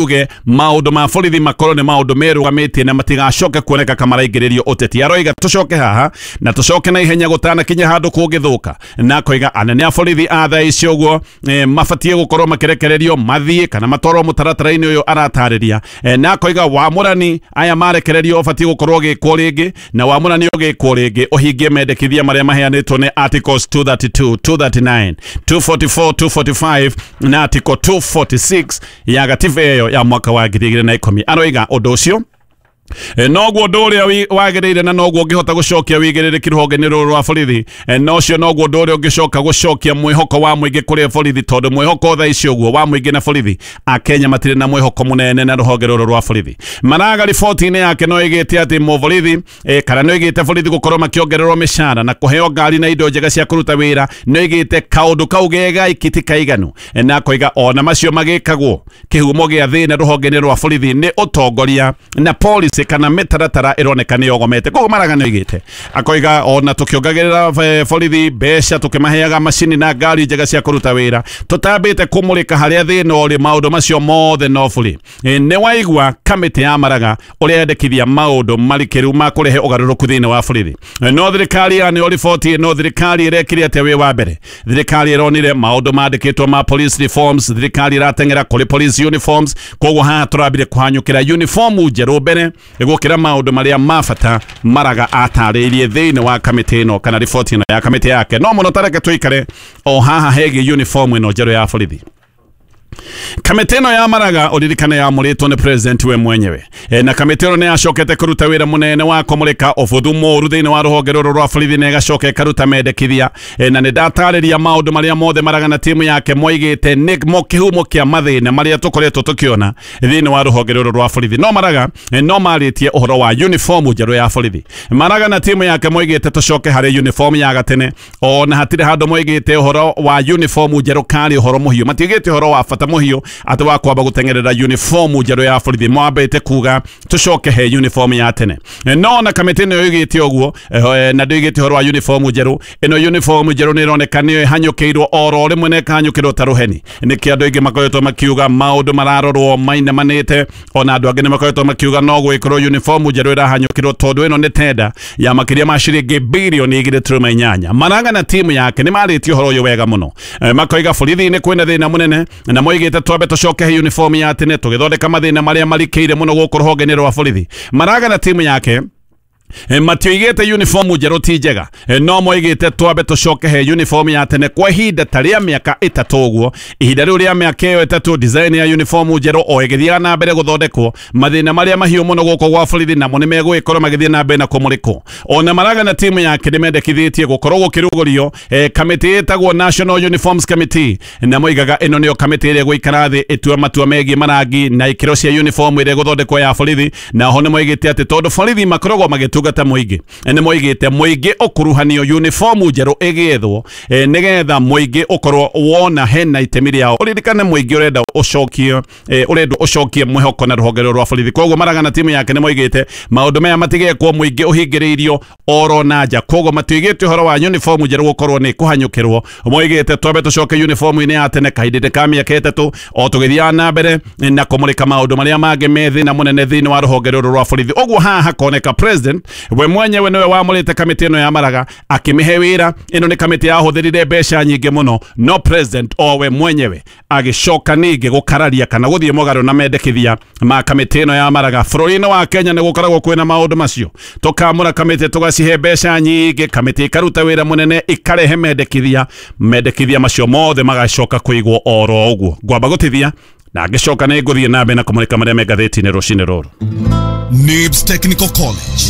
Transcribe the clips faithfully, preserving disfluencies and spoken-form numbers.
Uge maundu ma borithi makorwo nĩ maundu merũgamĩtie na matigacoke kuoneka kamaraingĩrĩrio ũteti. Aroiga tũcoke haha na tũcoke na ihenya gũtanakinya handũ kũngĩthũka, na akoiga anene a borithi a thaa ici ũguo e, mabatiĩ gũkorwo makĩrekererio mathiĩ kana matwarwo mũtaratara-inĩ ũyũ aratarĩria. e, na akoiga wamũrani aya marekererio ũbatiĩ gũkorwo ũgĩkwo rĩngĩ, na wamũrani ũgĩkwo rĩngĩ ũhingie mendekithia marĩa maheanĩtwo nĩ articles two thirty-two, two thirty-nine, two forty-four, two forty-five na article two forty-six ya gatiba ĩyo ya mwaka wa ngiri igĩrĩ na ikũmi. Aroiga ũndũ ũcio noguo ũndũ ũrĩa wagĩrĩire na noguo ũngĩhota gũcokia wĩigĩrĩrĩki rũhonge-inĩ rũrũ rwa borithi, na ũcio noguo ũndũ ũrĩa ũngĩcoka gũcokia mwĩhoko wa mũingĩ kũrĩ borithi, tondũ mwĩhoko thaa ici ũguo wa mũingĩ na borithi, Akenya matirĩ na mwĩhoko mũnene na rũhonge rũrũ rwa borithi. Maraga riboti-inĩ yake no ĩgĩte atĩ mũborithi kana no ĩgĩte borithi gũkorwo makĩongererwo mĩcara na kũheo ngari na indo njega cia kũruta wĩra, no ĩgĩte kaũndũ kau gegaiki ti kaiganu, na akoiga ona macio magĩkagwo kĩhumo gĩa thĩna rũhonge-inĩ rwa borithi nĩ ũtongoria na policy kana mĩtaratara ĩroneka nĩ yogomete. Koguo Maraga nĩ oigĩte akoiga ona tũkĩongagĩrĩra borithi mbeca, tũkĩmaheaga macini na ngari njega cia kũruta wĩra, tũtambĩte kũmũrĩka harĩa thĩna ũrĩ, maũndũ macio mothe no bũrĩ. Nĩ waigua kamĩtĩ ya Maraga ũrĩa yendekithia maũndũ marikĩru ma kũrehe ũgarũrũku thĩinĩ wa borithi. No thirikari ya nĩyo riboti ĩno, thirikari ĩrekire atĩa wĩ wa mbere? Thirikari ĩronire maũndũ mandĩkĩtwo ma police reforms, thirikari ĩrateng'era kũrĩ police uniforms, koguo haha tũrambire kũhanyũkĩra uniform njerũ mbere gũkĩra maũndũ marĩa ma bata Maraga atarĩirie thĩinĩ wa kamĩtĩ ĩno kana riboti ĩno ya kamĩtĩ yake. No mũno tareke tũikare o haha hegiĩ uniform ĩno njerũ ya borithi. Kamĩtĩ ĩno ya Maraga ũririkane yamũrĩtwo nĩ president we mwenyewe, e, na kamĩtĩ ĩno nĩ yacokete kũruta wĩra mũnene wa kũmũrĩka ũbuthu mũũru thĩinĩ wa rũhonge rũrũ rwa borithi, na ĩgacoka ĩkaruta mendekithia. e, na nĩ ndatarĩria maũndũ marĩa mothe Maraga na timu yake moigĩte nĩ mo kĩhumo kĩa mathĩna marĩa tũkoretwo tũkĩona thĩinĩ wa rũhonge rũrũ rwa borithi. No Maraga no marĩtie ũhoro wa uniform njerũ ya borithi. Maraga na timu yake moigĩte tũcoke harĩ uniform ya gatene, ona hatirĩ handũ moigĩte ũhoro wa uniform njerũ karĩ ũhoro mũhiũ, matiigĩte ũhoro wa bata mũhiũ atĩ wa kwamba gũteng'erera uniform njerũ ya borithi, mwambĩte kuga tũcoke he uniform ya tene. No na kamĩtĩ ĩno yoigĩte ũguo na ndĩoigĩte ũhoro wa uniform njerũ. Ĩno uniform njerũ nĩ ĩroneka nĩyo ĩhanyũkĩirwo oro rĩmwe na ĩkahanyũkĩrwo ta rũheni. Nĩkĩo andũ aingĩ makoretwo makiuga maũndũ mararorwo mainamanĩte, ona andũ angĩ nĩ makoretwo makiuga no gwĩkorwo uniform njerũ ĩrahanyũkĩrwo tondũ ĩno nĩ tenda ya makĩria ma ciringi birioni igĩrĩ turuma inyanya. Maraga na timu yake nĩ marĩtie ũhoro ũyũ wega mũno, makoiga borithi-inĩ kwĩna thĩna mũnene, na moigĩte twambe tũcoke he uniform ya tene tũgĩthondeka mathĩna marĩa marikĩire mũno gũkũ rũhonge-inĩ rwa borithi. Maraga na timu yake matioigĩte uniform njerũ ti njega, no moigĩte twambe tũcoke he uniform ya tene kwa ihinda ta rĩa mĩaka ĩtatũ ũguo. Ihinda rĩu rĩa mĩaka ĩyo ĩtatũ design ya uniform njerũ o ĩgĩthiaga na mbere gũthondekwo, mathĩna marĩa mahiũ mũno gũkũ gwa borithi namo nĩ megũgĩkorwo magĩthiĩ na mbere na kũmũrĩkwo. Ona Maraga na timu yake nĩ mendekithĩtie gũkorwo gũkĩrugũrio kamĩtĩ ĩtagwo National Uniforms Committee, na moigaga ĩno nĩyo kamĩtĩ ĩrĩa ĩgũikara thĩ ĩtue matua megiĩ marangi na ikĩro cia uniform ĩrĩa ĩgũthondekwo ya borithi. Na ho nĩ moigĩte atĩ tondũ borithi makoragwo magĩtungata mũingĩ, nĩ moigĩte mũingĩ ũkuruhanio uniform njerũ ĩgĩethwo nĩgetha mũingĩ ũkorwo wona hena itemi rĩao. Ũririkane mũingĩ ũrenda ũcokie ũrendwo ũcokie mwĩhoko na rũhonge rũrũ rwa borithi. Koguo Maraga na timu yake nĩ moigĩte maũndũ maya matigekwo mũingĩ ũhingĩrĩirio oro na nja. Koguo matiigĩte ũhoro wa uniform njerũ gũkorwo nĩ kũhanyũkĩrwo, moigĩte twambe tũcoke uniform-inĩ ya tene kahinda ka mĩaka ĩtatũ o tũgĩthiaga na mbere na kũmũrĩka maũndũ marĩa mangĩ me thĩna mũnene thĩinĩ wa rũhonge rũrũ rwa borithi. Ũguo haha hakoneka president we mwenyewe niwe wamũrĩte kamĩtĩ ĩno ya Maraga akĩmĩhe wĩra. Ĩno nĩ kamĩtĩ yahũthĩrire mbeca nyingĩ mũno, no president o we mwenyewe agĩcoka ningĩ gũkararia kana gũthiĩ mũgarũ na mendekithia ma kamĩtĩ ĩno ya Maraga. Bũrũri-inĩ wa Kenya nĩ gũkoragwo kwĩna maũndũ macio, tũkamũra kamĩtĩ tũgacihe mbeca nyingĩ, kamĩtĩ ĩkaruta wĩra mũnene ĩkarehe mendekithia, mendekithia macio mothe magacoka kũigwo oro ũguo. Ngwamba gũtithia na ngĩcoka nĩ ngũthiĩ na mbere na kũmũrĩka marĩa me ngathĩti-inĩ rũcinĩ rũrũ. Nibs Technical College.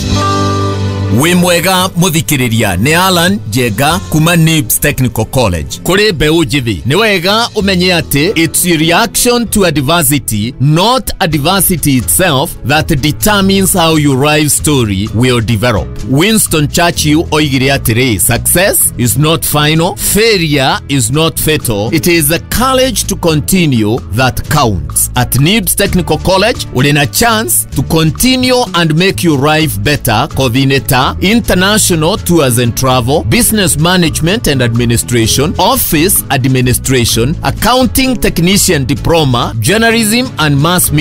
Wĩ mwega mũthikĩrĩria, nĩ Alan Njenga kuma Nibs Technical College. Kũrĩ mbeũ njĩthĩ, nĩ wega ũmenye atĩ it's a reaction to adversity, not adversity itself, that determines how your life story will develop. Winston Churchill oigire atĩrĩ, success is not final, failure is not fatal, it is the courage to continue that counts. At Nibs Technical College, ũrĩ na chance to continue and make your life better kothi-inĩ ta ta International Tours and Travel, Business Management and Administration, Office Administration, Accounting Technician Diploma, Journalism and Mass Media.